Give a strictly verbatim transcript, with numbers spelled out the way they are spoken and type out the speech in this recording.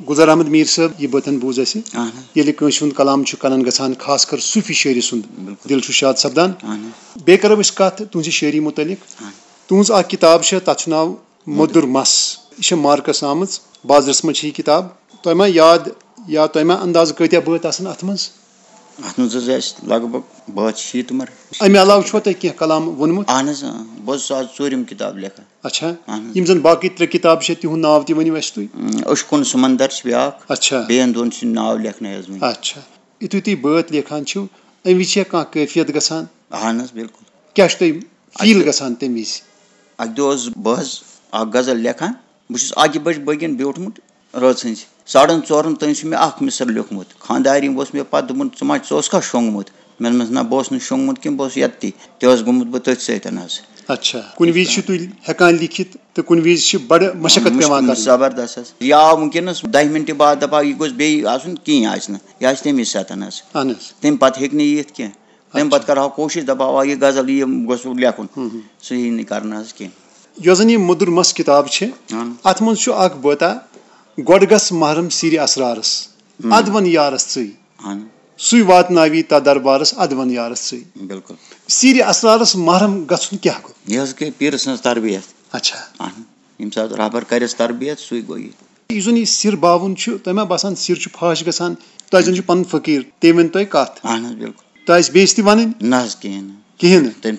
گلزار احمد میر صٲب، یہِ بٲتن بوٗز اَسہِ۔ اہن حظ۔ ییٚلہِ کٲنٛسہِ ہُنٛد کلام چھُ کنن گژھان، خاص کر صوٗفی شٲعری سُنٛد، بِلکُل۔ دِل چھُ شاد سپدان۔ اہن حظ۔ بیٚیہِ کرو أسۍ کتھ تُہنٛزِ شٲعری مُتعلق۔ اہن۔ تُہنٛز اکھ کِتاب چھےٚ، تتھ چھُ ناو مۄدُر مس۔ یہِ چھےٚ مارکس آمٕژ، بازرس منٛز چھِ یہِ کِتاب۔ تۄہہِ ما یاد یا تۄہہِ ما اندازٕ کۭتیاہ بٲتۍ آسن اتھ منٛز؟ اتھ منٛز حظ آسہِ لگ بگ بٲتھ شیٖتھ مر۔ امہِ علاوٕ چھُوا تۄہہِ کینٛہہ کلام ووٚنمُت؟ اہن حظ، اۭں۔ بہٕ حظ چھُس آز ژوٗرِم کِتاب لیکھان۔ اچھا۔ اہن حظ۔ یِم زَن باقٕے ترٛےٚ کِتابہٕ چھےٚ، تِہُنٛد ناو تہِ ؤنِو اَسہِ تُہۍ۔ اۭں، عشقن سمندر چھِ بیٛاکھ۔ اچھا۔ بیٚیَن دۄن چھِ ناو لیکھنَے حظ وٕنہِ۔ اچھا۔ یُتھُے تُہۍ بٲتھ لیکھان چھِو، اَمہِ وِزِ چھےٚ کانٛہہ کیفیت گژھان؟ اہن حظ، بِلکُل۔ کیٛاہ چھُ تۄہہِ فیٖل اَکہِ دۄہ گژھان تَمہِ وِزِ؟ اَکہِ دۄہ اوسُس بہٕ حظ اَکھ غزل لیکھان۔ بہٕ چھُس اَکہِ بَجہِ بٲگٮ۪ن بیوٗٹھمُت۔ رٲژ ہٕنٛزِ ساڑن ژورن تام چھُ مےٚ اکھ مِصر لیوٗکھمُت۔ خانٛدارِنۍ اوس مےٚ پتہٕ دوٚپمُت، "ژٕ ما، ژٕ اوسکھا شۄنٛگمُت؟" مےٚ دوٚپمَس، "نہ، بہٕ اوسُس نہٕ شۄنٛگمُت کینٛہہ، بہٕ اوسُس یَتتٕے۔ تہِ اوس گوٚمُت بہٕ تٔتھۍ سۭتۍ حظ۔" اچھا، کُنہِ وِزِ چھِو تُہۍ ہٮ۪کان لیکھِتھ تہٕ کُنہِ وِزِ چھِ بڑٕ مشقت پٮ۪وان مُشکِل، کَرٕنۍ۔ زبردست حظ۔ یہِ آو وٕنکیٚنَس دَہہِ مِنٹہِ بعد، دَپان، یہِ گوٚژھ بیٚیہِ آسُن کِہیٖنۍ آسہِ نہٕ، یہِ آسہِ تَمی ساتَن حظ۔ اہن حظ۔ تَمہِ پَتہٕ ہیٚکہِ نہٕ یِتھ کینٛہہ۔ تَمہِ اچھا۔ پَتہٕ کَرٕہاو کوٗشِش، دَپہاو، آ، یہِ غزل یہِ گوٚژھ لیکھُن۔ ہُم، ہُم۔ سُہ یی نہٕ کَرنہٕ حظ کینٛہہ۔ یۄس زَن یہِ مۄدُر مَس کِتاب چھِ، اہن۔ اَتھ منٛز چھُ اکھ بٲتہ، "گۄڈٕ گژھ محرم سیٖرِ اسرارس، ہم۔ اَدٕ وَن یارس ژٕے۔ اہن۔ سُے واتناوی تَتھ دربارس، اَدٕ وَن یارس ژٕے۔" بِلکُل۔ سیٖرِ اسرارس محرم گژھُن کیٛاہ گوٚو؟ یہِ حظ گٔے پیٖرٕ سٕنٛز تربیت۔ اچھا۔ اہن۔ ییٚمہِ ساتہٕ رہبر کرٮ۪س تربیت، سُے گوٚو یہِ۔ یُس زَن یہِ سِر باوُن چھُ، تۄہہِ ما باسان سِر چھُ فاش گژھان؟ تۄہہِ زَن چھُ پَنُن فقیٖر، تٔمۍ ؤنۍ تۄہہِ کَتھ۔ اہن حظ، بِلکُل۔ تۄہہِ آسہِ بیٚیِس تہِ وَنٕنۍ؟ نہ حظ، کِہیٖنۍ نہٕ۔ کِہیٖنۍ نہٕ؟ تٔمۍ